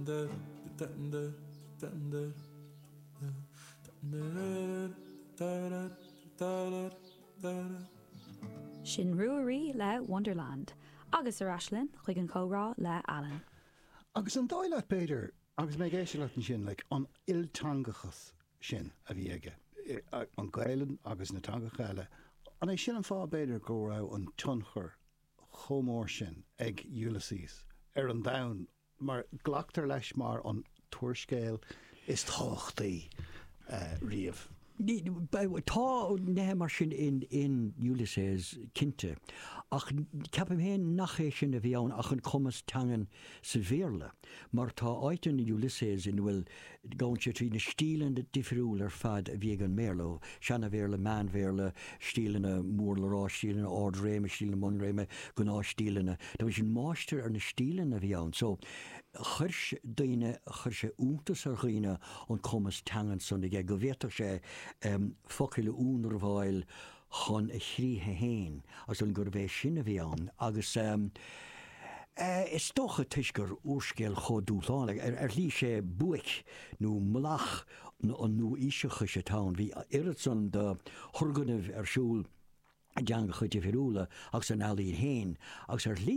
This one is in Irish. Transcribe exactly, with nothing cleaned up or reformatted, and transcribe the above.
Sin Ruairí le Wonderland. Agus ar ais linn chuig an chomhrá le Alan. Agus an dóigh leat b'fhéidir, agus mé ag éisteacht leat ansin, like, an ilteangachas sin a bhí aige, an Ghaelainn agus na teangacha eile, an é sin an fáth b'fhéidir go raibh an tionchar chomh mór sin ag Ulysses ar an domhan, mar glactar leis mar an t-úrscéal is tábhachtaí riamh? Tá nithe mar sin in in Ulysses cinnte, ach ceapaim féin nach é sin a bhí ann ach an cumas teangan sa Bhéarla, mar tá áit in Ulysses ina bhfuil, gabhann sé trí na stíleanna difriúla ar fad a bhí ag an mBéarla, Seana-Bhéarla, Meán-Bhéarla, stíleanna mór le rá, stíleanna ard-réime, stíleanna bunréime, gnáthstíleanna. Tá sé sin máistir ar na stíleanna a bhí ann. So, chuir daoine, chuir sé iontas ar dhaoine an cumas teangan san aige, go bhféadfadh sé focail a ionramháil chun a chríche fhéin, agus an gurbh é sin a bhí ann. Agus is dócha toisc gur úrscéal chomh dúshlánach, ar shlí sé buaic nó mullach an nua-aoiseachais atá ann, bhí oiread san de thurgnaimh ar siúl i dteangacha difriúla agus san ealaín fhéin, agus ar shlí,